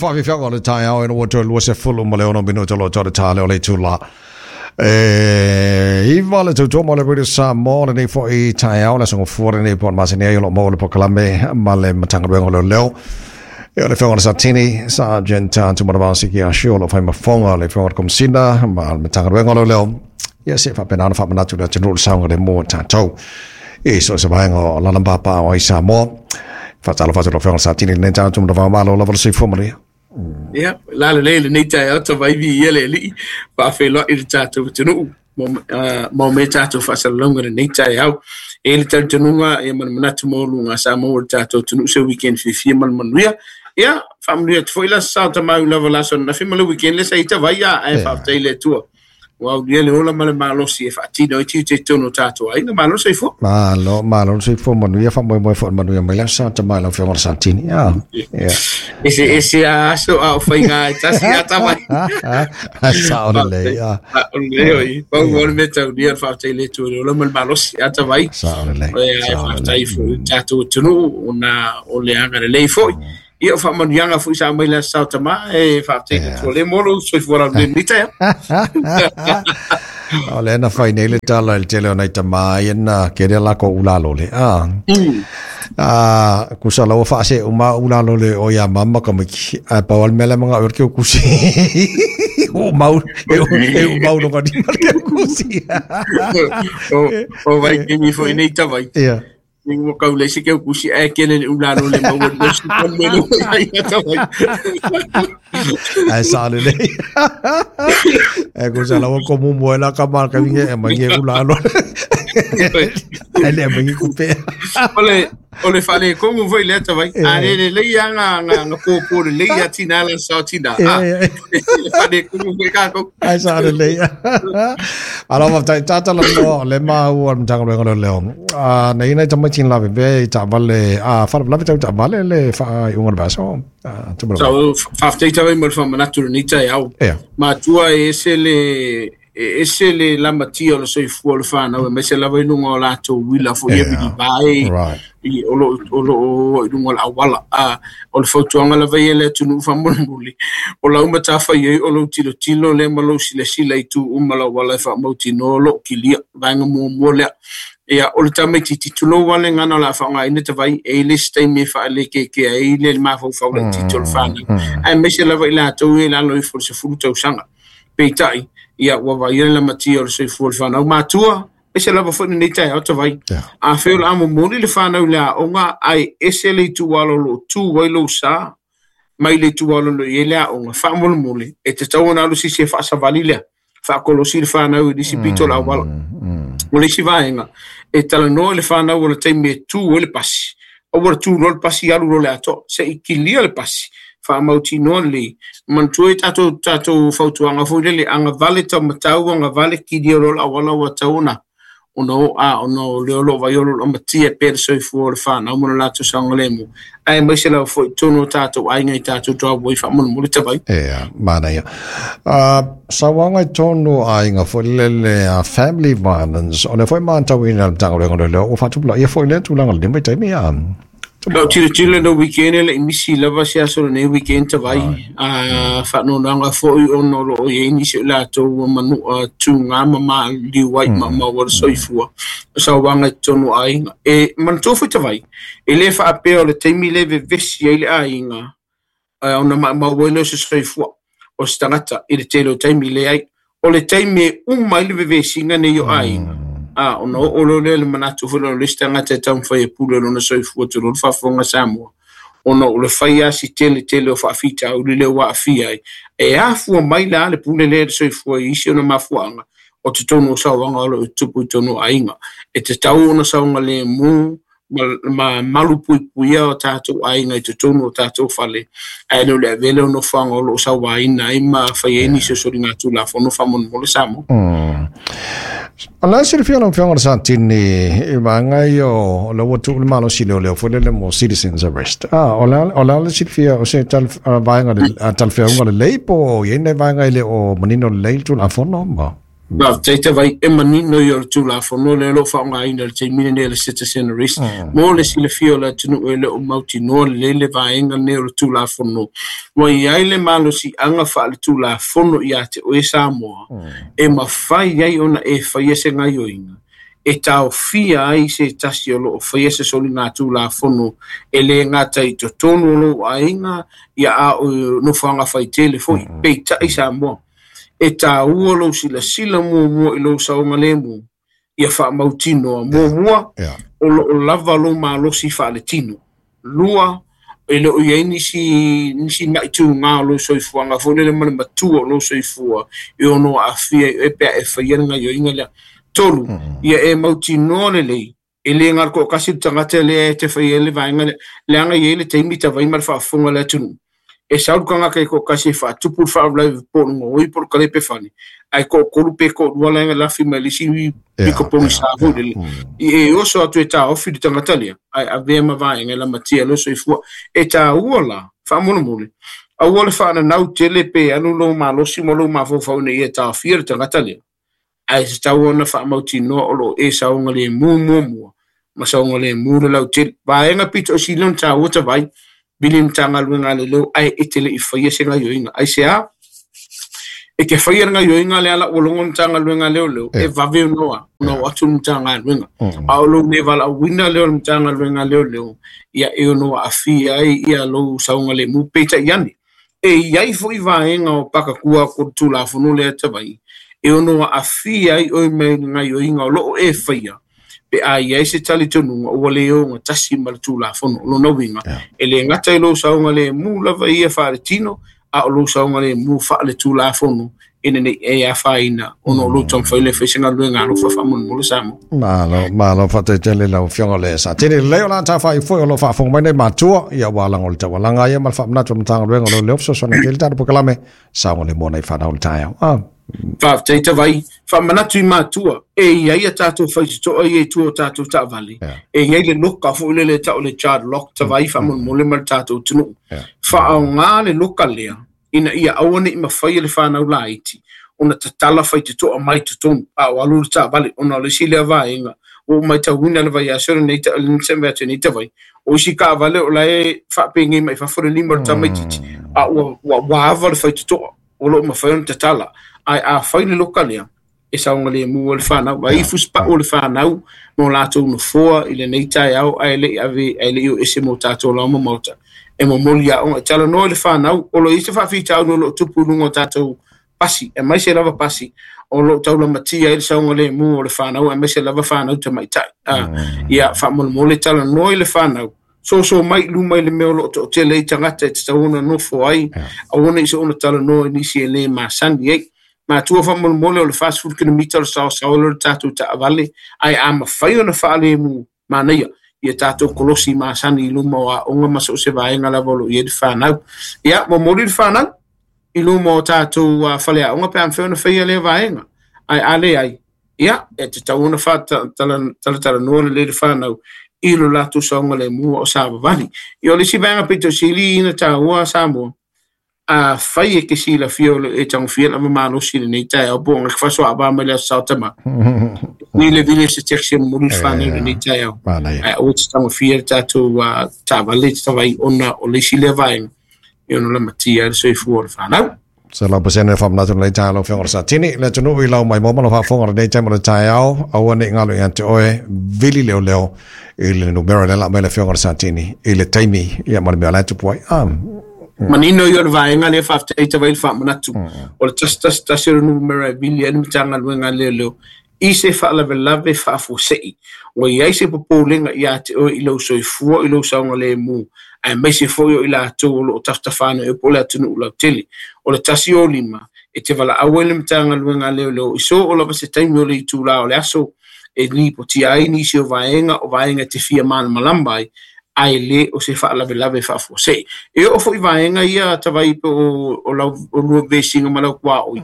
Faafiafiaga o le taeao ina ua toe 26 minute o lo o tau le ta lea o le itula e 9 le tautoga o le Radio Samoa lenei foi taeao le aso Gafua lenei po o le masina ai o lo o maua le polokalame ma le Matagaluega o Leoleo. E o le Afioga i le Satini, Sergeant Tumanavao Sikiashu o lo o fai ma fofoga o le Afioga i le Komesina ma le Matagaluega o Leoleo. Ia se faapena ona faamanatu i le atunuu le saogalemu o tatou i so o se vaega o lalabapa o ai Samoa. Faatalofa atu i lau Afioga i le Satini i lenei taeao Tumanavao, malo lava le soifua manuia. Ia, la lelei lenei taeao Tavaivi ia le Alii, faafeiloai i le tatou atunuu mo mea tatou faasalalauga i lenei taeao. E i ai le talitonuga ia ma le manatu maualuga sa maua e le tatou atunuu se weekend fiafia ma le manuia. Ia, faamanuia atu foi la sao tamau lava la aso ananafi ma le weekend lea sa i Tavai a, ae faafetai i le Atua. Ua aulia le ola ma le malosi e faatino ai tiute i totonu o tatou aiga. Malo le soifua. Malo, malo le soifua manuia, faamoemoe foi i le manuia mai le aso Sa Tamai lau Afioga i le Satini. Ah, yeah. Ese ese a aso a o faiga e tasi a tamai. Sao lelei. Ah. O le oi, pau o le mea taulia le faafetai i le Atua i le ola ma le malosi a Tavai. Sao lelei. Ae faafetai foi i le tatou atunuu ona o le agalelei foi. Ia o faamanuiaga foi sa aumai le Aso Sa o Tama, e faafetai i le Atua le mo lou soifua laulelei i lenei taeao. O lea na fai nei le tala i le tele o nai tama ia na kele a lakou ulalole. Ah. Ah, kusa la ua faase uma ulalole o ia mama ka miki. Ae pau al mele manga ur ke kusi. O mau e e o mau no ka di mal ke kusi. O vai ke mi foi nei tawai. Yeah. Ni ua kau le se ke kusi ae kele le ulalole maua le si melo ai tawai. Ae sa lelei. E kusa la ua komu moe la ka mal ka vinge e mangi e ulalole. Ai le mangi kupe. O le faaletonu foi lea tawai. A le lelei lava ga pōpō lelei ia tina la sao tina. A le faaletonu foi kākou. Ai sa lelei. Alo faafetai tatala noa o le maua o le Matagaluega o Leoleo. A na ia nai tamaiti na lavevea i taavale, a faalavelave tau taavale le faaiuga o le vaiaso. A tumalo. Sa faafetai tawai mo le faamanatu i lenei taeao. Matua e ese le e ese le lamatia o le soifua o le whānau, aemaise lava i luga o latou uila foi e vilivae, i o lo o i luga o le auala. A o le fautuaga lava ia i le atunuu faamolemole, o lau matafaioi o lou tilotilo lea ma lou silasila i itu uma o le auala e faamautinoa o lo o kilia, vaega muamua lea. Ia, o le tamaitiiti, tulou lava le gagana o le a faaaogaina tavai, e i ai le isi taimi e faalekekea ai le mafaufau laitiiti o le whānau, aemaise lava i latou ia i lalo ifo o le 10 tausaga. Peitai, ia, ua vaaia le lamatia o le soifua o le whanau matua, aemaise lava foi lenei taeao tavai. Afai o le a momoli le whanau i le aoga, ae ese le itualo o lo o tu ai lou sa, mai le itualo o lo o i ai le aoga, faamolemole, e tatau ona alu se isi e faasavali lea, faakolosi le whanau i le isi pito o le auala. O le isi vaega, e talanoa i le whanau o le taimi e tu ai le pasi, aua le tu loa le pasi alu loa le atoa, se i kilia le pasi, faamautinoa lelei. Manatua i tatou fautuaga foi lele, agavale taumatau, agavale kilia loa le auala ua tatau ona ona o a ona o lea o lo o vaai o lo o lamatia pea le soifua o le whanau ma lo latou saogalemu. Aemaise lava foi i totonu o tatou aiga i tatou driveway faamolemole tavai. Ea, manaia. Sauaga i totonu o aiga foi lele a family violence, o lea foi matauina e le Matagaluega o Leoleo, ua faatupulaia foi lea tulaga i lenei vaitaimi a. Lau tilotilo i le weekend e le i misi lava se aso o lenei weekend tavai. A faanoanoaga foi ona o lo o i ai nisi o i latou ua manua tugā ma maliu ai ma maua le soifua. O sauaga i totonu o aiga. E manatua foi tavai, e le faapea o le taimi lea e vevesi ai le aiga ona maumau ai lea o se soifua o se tagata i le tele o taimi leai. O le taimi e uma ai le vevesiga nei o aiga, a ona oo loa lea i le manatu foi lea o le isi tagata e taumafai e pule lona soifua tulou le faafofoga a Samoa, ona o le fai lava si tele tele o faafitauli lea ua aafia ai. E afua mai la le pule lea i le soifua i isi ona mafuaaga o totonu o sauaga o lo o tupu i totonu o aiga. E tatau ona saogalemu ma malupuipuia o tatou aiga i totonu o tatou fale, ae le o le avea lea o nofoaga o lo o sauaina ai ma fai ai nisi o soligatulafono faamolemole Samoa. O le a silafia lau Afioga i le Satini i vaega ia o lea ua tuu le malosi leoleo foi lele mo citizens arrest. Ah, o le a o le a le silafia o se tal, vaega le, talafeauga lelei po o i ai nai vaega e le o manino lelei le Tulafono ma? Faafetai Tavai, e manino ia o le Tulafono lea o lo o faaaogaina i le taimi lenei o le Citizen Arrest. Mo le silafia o le atunuu e le o mautinoa lelei le vaega lenei o le Tulafono, ua i ai le malosiaga faale-Tulafono ia te oe Samoa e mafai ai ona e faia se gaioiga e taofia ai se tasi o lo o faia se soligatulafono e le gata i totonu o lou aiga ia a o nofoaga faitele foi, peitai Samoa. E tāua lou silasila muamua i lou saogalemu ia faamautinoa. Muamua, o lo o lava lou malosi faaletino. Lua, e le o i ai nisi nisi maʻi o lou soifuaga foi lele ma le matua o lou soifua e ono aafia ai oe pe a e faia le gaioiga lea. Tolu, ia e mautinoa lelei e le galo toʻatasi le tagata lea e te faia ai le vaega lea, leaga e i ai le taimi tavai ma le faafofoga a le atunuu e sau le tagata e toʻatasi e faatupu le faalavelave po o le gaoi po o le kalepe fale, ae toʻatolu pe toʻalua lae lafi mai le isi piko pogisa foi lele e oso atu e taofi le tagata lea ae avea ma vaega e lamatia lou soifua. E tāua la faamolemole, aua le faananau tele pe alu lou malosi ma lou mafaufau ina ia taofia le tagata lea, ae tatau ona faamautinoa o lo o e saogalemu muamua ma saogalemu le lautele. Vaega pito o sili ona tāua Tavai, vili Matagaluega a Leoleo ae e te le i faia se gaioiga. Aisea? E te faia le gaioiga lea la ua logo le Matagaluega a Leoleo e vave ona ona o atu le Matagaluega. A o lou le valaauina lea o le Matagaluega a Leoleo, ia e ono aafia ai ia lou saogalemu. Peitai ane, e i ai foi vaega o pakatua ko le Tulafono lea Tavai e ono aafia ai oe mai le gaioiga o lo o e faia pe a i ai se talitonuga ua le ogatasi ma le Tulafono. O lona uiga, e le gata i lou saogalemu lava ia faaletino, a o lou saogalemu faale-Tulafono ina nei e afaina ona o lou taumafai lea e fai se galuega alofa faamolemole Samoa. Malo, malo, faafetai tele lau Afioga le Satini. Lelei o la tafai foi o lo o faafofoga mai nei matua, ia ua lago le taualaga ia ma le faamanatu o le Matagaluega o Leoleo fesoasoani tele tatou polokalame saogalemu ona i fanau le taeao. Ah. Faafetai Tavai, faamanatu i matua, e i ai a tatou faitotoa ia i tua o tatou taavale, e i ai le loka foi lele e tau o le child lock Tavai faamolemole ma le tatou atunuu. Faaaoga le loka lea ina ia aua ne i mafai e le fanau laiti ona tatala faitotoa mai totonu a o alu le taavale, ona o le isi lea vaega ua ou matauina le vaiaso lenei atu nei Tavai, o isi taavale o la e faapenei mai fafo le lima o le tamaitiiti a ua ava le faitotoa o lo o mafai ona tatala. Ae a fai le loka lea e saogalemu ai le fanau, vaai fusipau o le fanau ma o latou nofoa i lenei taeao ae le i ave ae le i o ese mo tatou laoma maota e momoli aoga e talanoa i le fanau o lo o i ai se faafitauli o lo o tupu i luga o tatou pasi, aemaise lava pasi o lo o taulamatia ai le saogalemu o le fanau, aemaise lava fanau tamaitai. Ia faamolemole talanoa i le fanau, soso mai i luma i le mea o lo o toatele ai tagata e tatau ona nofo ai, aua ne i soona talanoa i nisi e le masani ai. Matua faamolemole, o le 40 kilomita o le saosaoa lea o le tatou taavale, ae a mafai ona faalemu manaia ia tatou kolosi masani i luma o aoga ma so o se vaega lava o lo o i ai le fanau. Ia momoli le fanau i luma o tatou faleaoga pe a mafai ona faia lea vaega, ae a leai, ia e tatau ona faatalatalanoa lelei le fanau i lo latou saogalemu o savavali. Ia o le isi vaega pito sili ina tāua Samoa, a fai e ke silafia o le e tagofia lava malosi i lenei taeao po o ga fasoaava mai le aso saotama ni le vile se taxi e momoli le fanau i lenei taeao, ae aua te tagofia le tatou taavale Tavai, ona o le isi lea vaega e ono lamatia ai le soifua o le fanau. 100% le faamanatu lenei taeao lau Afioga o le Satini. Le atunuu i lau mai mo ma lau faafofoga lenei taimi o le taeao, aua ne i galo ia te oe, vili leoleo i le numera lea la aumai le Afioga o le Satini i le taimi ia ma le mea o la e tupu ai. Ah. Manino ia o le vaega lea, faafetai Tavai le faamanatu. O le 111 o le numera e vili ai le Matagaluega a Leoleo i se faalavelave faafuasei ua i ai se popolega ia te oe i lou soifua, i lou saogalemu, aemaise foi o i latou o lo o tafatafa nei po o le atunuu lautele. O le 105 e te valaau ai le Matagaluega a Leoleo i so o lava se taimi o le itulā o le aso e lipotia ai nisi o vaega o vaega e te fia malamalama ai, ae le o se faalavelave faafuasei. E oo foi vaega ia Tavai po o lau o lua vesiga ma lau tuaoi,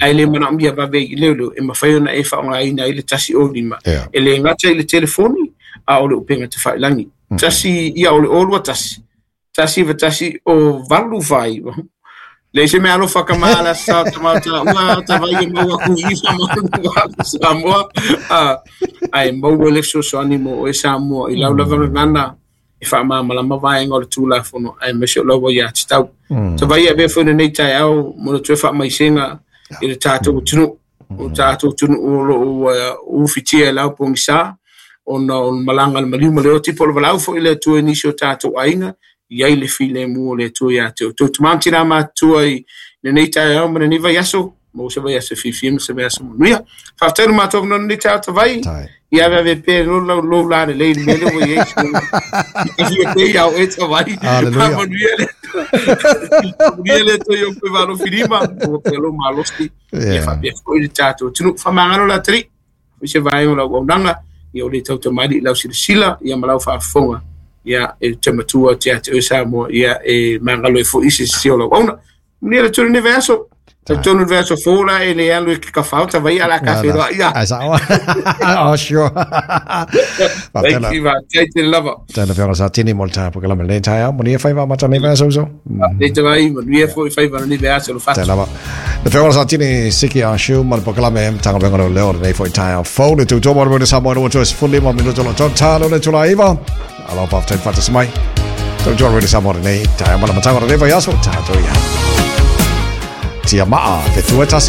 ae le manaomia vave i leoleo, e mafai ona e faaaogaina ai le 105 e le gata i le telefoni a o le upega tafailagi. Tasi ia o le 021 191 o 849. Le se mea alofa ka ma la sa ta ma ta ua ta vai e mau aku i sa ma Samoa. Ai mau le fesoasoani mo oe Samoa i lau lava nana e faamalamalama vaega o le Tulafono aemaise o lau aiatatau. Tavai e avea foi lenei taeao mo le toe faamaisega i le tatou atunuu. O tatou atunuu o lo o ufitia e lau pogisa ona o le malaga a le maliu ma le oti po o le valaau foi i le Atua i nisi o tatou aiga i ai le filemu o le Atua ia te outou. Tama ma tina matutua i lenei taeao ma lenei vaiaso, maua se vaiaso e fiafia ma se vaiaso manuia. Faafetai le matou avanoa lenei taeao Tavai. Ia ave ave pea lo lau lou la lelei le mea lea ua i ai. Ia te ia o e Tavai. Manuia le manuia le Atua i ou faiva alofilima, maua pea lou malosi. Ia faapea foi le tatou atunuu. Faamagalo la atalii. Foi se vaega o lau auaunaga, ia o le tautamalii i lau silasila ia ma lau faafofoga, ia e te matua atu ia te oe Samoa, ia e magalo ai foi se sese o lau auauna. Manuia le Atua i lenei vaiaso. Talitonu le vaiaso fou la e le alu e ke kafao Tavai a la ka whenua ia. Ai sao. Oh, sure. Thank you, faafetai tele lava. Tēnā whionga sa tini mo le tae pokalame lenei taeao. Manuia whaiva mata nei vaiaso uso. Nei Tavai, manuia foi whaiva nei vaiaso lo fatu. Tēnā lava. Le whionga sa tini siki a shiu ma le pokalame tanga venga leo leo nei foi taeao fou le tūtō mo le mone Samoa no tua sefulu lima minuto lo tau tālo le tula iva. Alo whaftai whatas mai. Tau tō rere Samoa nei taeao mana matanga nei vaiaso tātou ia. Tia maa, te tua tasi.